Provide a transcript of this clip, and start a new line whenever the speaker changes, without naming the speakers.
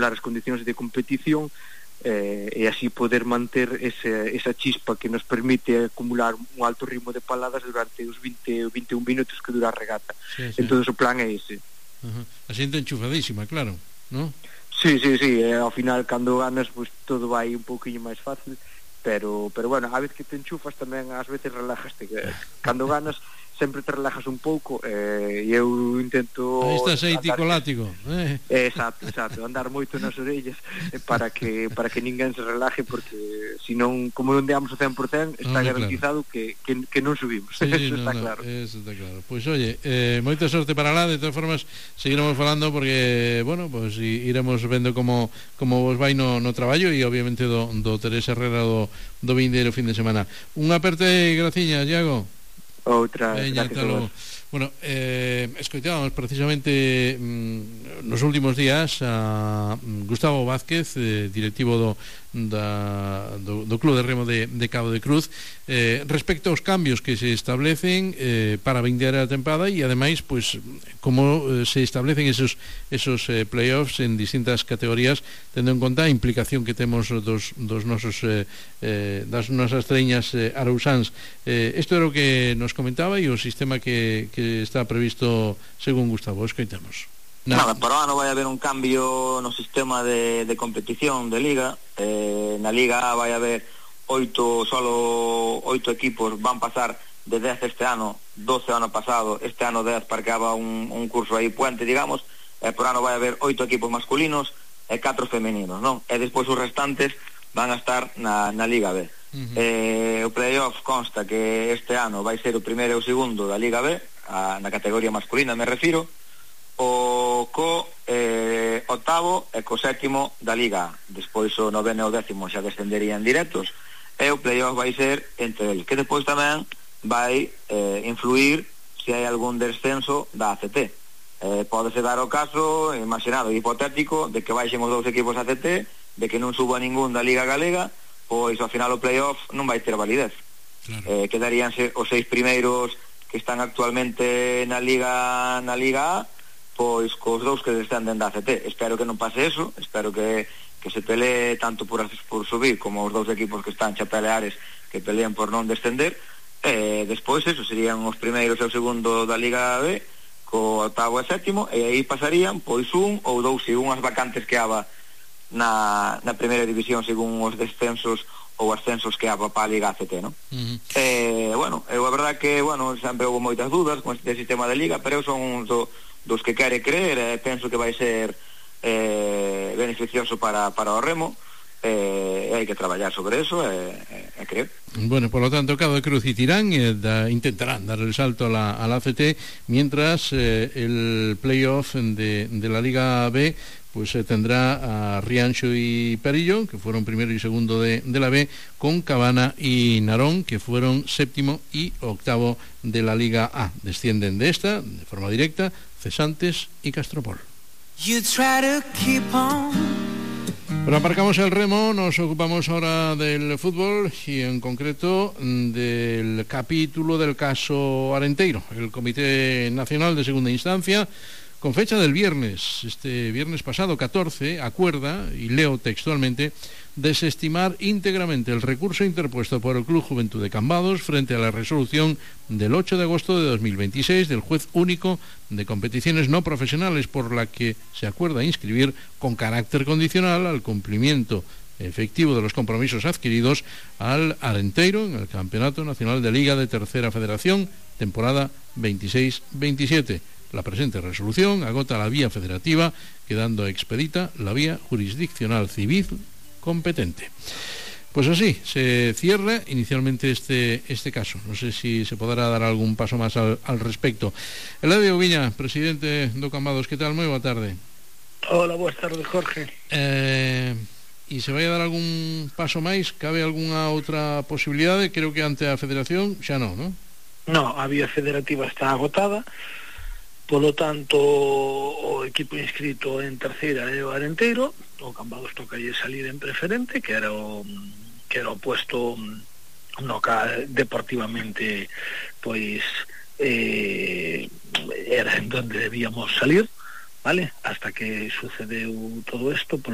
as condicións de competición, e así poder manter esa chispa que nos permite acumular un alto ritmo de paladas durante os 20 ou 21 minutos que dura a regata. Entón o plan é ese.
A xente enchufadísima, claro, non?
Sí, ao final cando ganas pues todo vai un pouquinho máis fácil, pero bueno, a vez que te enchufas tamén ás veces relajaste, cando ganas sempre te relajas un pouco, e eu intento...
Aí está aceitico látigo.
Exacto, andar moito nas orellas para que ninguén se relaje, porque senón, como non deamos o 100%, está garantizado que non subimos. Eso está claro.
Eso está claro. Pois oye, moita sorte para lá, de todas formas seguiremos falando, porque, bueno, pues iremos vendo como vos vai no traballo, e obviamente do Teresa Herrera do vindeiro fin de semana. Unha aperte graciña, Iago.
Outra, gracias a vos.
Bueno, escoitábamos precisamente nos últimos días a Gustavo Vázquez, directivo do Club de Remo de Cabo de Cruz, respecto aos cambios que se establecen para vindeira a tempada, e ademais pues como se establecen esos playoffs en distintas categorías, tendo en conta a implicación que temos dos nosos das nosas treñas arausáns. Isto era o que nos comentaba, e o sistema que está previsto según Gustavo. Escoitamos.
Nada, para o ano vai haber un cambio no sistema de competición de liga. Na liga vai haber 8 equipos, van pasar de 10 este ano, 12 ano pasado, este ano 10 parqueaba un curso aí puente, digamos, por ano vai haber 8 equipos masculinos e 4 femeninos, non? E despois os restantes van a estar na Liga B. O playoff consta que este ano vai ser o primeiro e o segundo da Liga B, na categoría masculina me refiro, o octavo e co sétimo da Liga A. Despois o noveno e o décimo xa descenderían directos, e o playoff vai ser entre eles, que despois tamén vai influir se hai algún descenso da ACT. Pódese dar o caso, imaginado, hipotético, de que baixen os 2 equipos ACT, de que non suba ningún da Liga Galega, pois ao final o playoff non vai ter validez. Claro. Quedaríanse os 6 primeiros que están actualmente na Liga A, pois cos 2 que descenden da ACT. Espero que non pase eso, espero que se pelee tanto por subir como os 2 equipos que están xa peleares, que pelean por non descender. Despois eso, serían os primeiros e o segundo da Liga B, co octavo e sétimo, e aí pasarían pois un ou 2 según as vacantes que haba na primeira división, según os descensos ou ascensos que haba para a Liga ACT, non? Bueno, a verdad que, bueno, sempre houve moitas dudas con este sistema de Liga, pero eu son un dos que quere creer, e penso que vai ser beneficioso para o remo, e hai que traballar sobre eso e creer.
Bueno, por lo tanto, Cabo de Cruz y Tirán intentarán dar el salto a la ACT, mientras el playoff de la Liga B pues tendrá a Rianxo y Perillo, que fueron primero y segundo de la B, con Cabana y Narón, que fueron séptimo y octavo de la Liga A. Descienden de esta, de forma directa, Cesantes y Castropol. Pero aparcamos el remo, nos ocupamos ahora del fútbol, y en concreto del capítulo del caso Arenteiro. El Comité Nacional de Segunda Instancia, con fecha del viernes, este viernes pasado 14, acuerda, y leo textualmente, desestimar íntegramente el recurso interpuesto por el Club Juventud de Cambados frente a la resolución del 8 de agosto de 2026 del juez único de competiciones no profesionales, por la que se acuerda inscribir con carácter condicional al cumplimiento efectivo de los compromisos adquiridos al Arenteiro en el Campeonato Nacional de Liga de Tercera Federación, temporada 26-27. La presente resolución agota la vía federativa, quedando expedita la vía jurisdiccional civil competente. Pues así se cierra inicialmente este caso. No sé si se podrá dar algún paso más al respecto. Eladio Viña, presidente do Cambados, ¿qué tal? Moi boa tarde.
Hola, boas tardes, Jorge.
E se vai a dar algún paso máis? Cabe algunha outra posibilidade? Creo que ante a Federación xa non, non?
No, a vía federativa está agotada. Polo tanto, o equipo inscrito en terceira é o Arenteiro. O Cambados toca salir en preferente, que era o puesto no que deportivamente pois era en donde debíamos salir, vale? Hasta que sucedeu todo isto, polo